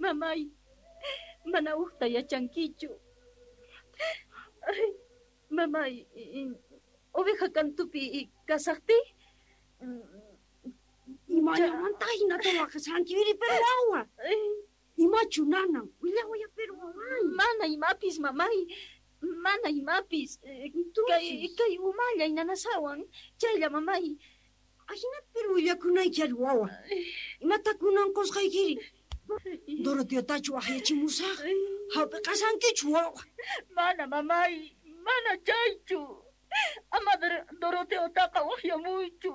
Mamay, mana ujta yachankichu. Ay, mamay, oveja kantupi kasajtiy. Imallamanta hinata waqashanki, pero wawa. Imachu nanan, willawaya pero waway. Mana imapis, mamay. Mana imapis. Kay umallay nanasawan. Chaylla, mamay. Ajinata pero willakunayki ari wawa. Imata kunan qusqaykiri. Doroteotachu waqyachimusaq. Hap'iqasankichu wawa. Mana, mamay. Mana chaychu. Ama Doroteotaqa waqyamuychu.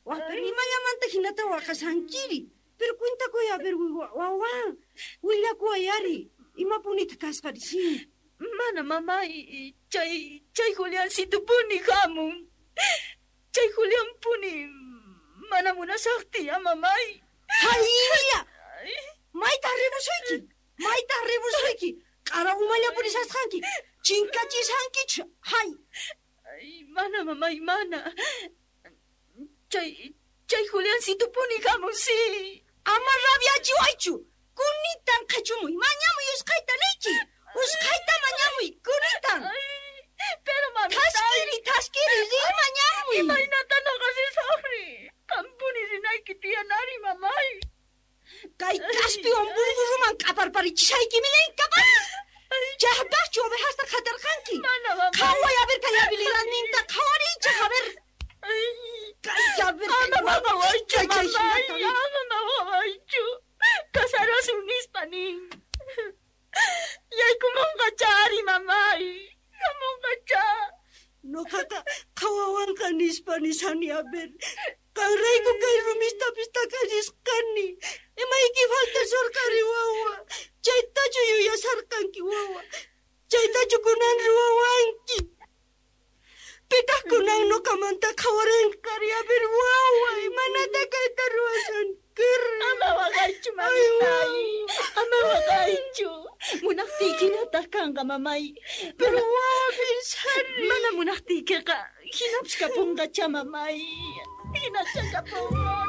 Wah, pero imallamanta hinata waqasankiri. Pero cuentakuy a ver wawa. Willakuway ari. Imapunita kasqari, sí. Mana, mamay. Chay Juliancitopuni hamun. Chay Julianpuni mana munasaqtiy, mamay. Haylla! Mayta ribusuyki. Mayta ribusuyki. Q'ara umalla purisasqanki. Chinkachisqankichu. Hay. Ay, mana, mamay, mana. Chay Juliancitopuni hamun, sí. Ama rabiachiwaychu. Kunitan qhachumuy. Mañamuy usqhayta niyki. Usqhayta mañamuy. Kunitan. Pero mamita. Thaskiri, riy mañamuy. Imaynata noqa risaqri. Qampuni rinayki tiyanari, mamay. Kay kaspiwan burburruman q'aparparichisayki milay capaz. Chaypaqchu ovejasta qhatarqanki. Mana, mamay. Qhaway a ver kay habilidadninta qhawariychaq a ver. Kay a ver. Ama maqawaychu, mamay. Ama maqawaychu. Casarasun nispa nin. Yaykumunqacha ari, mamay. Hamunqacha. Noqaqa qhawawanqa nispa nisani a ver. Qanrayku kay rumistapis takallisqani. Imayki faltasorqari wawa. Chaytachu yuyasarqanki wawa. Chaytachu kunan ruwawanki. Pitaq kunan noqamanta qhawaranqari a ver wawa. Imanata kayta ruwasankiri. Ama waqaychu, mamitay. Ama waqaychu. Munaqtiykinataq kanqa, mamay. Pero wawa pensari. Mana munaqtiykiqa hinapis kapunqacha, mamay. Hinacha kapunqa.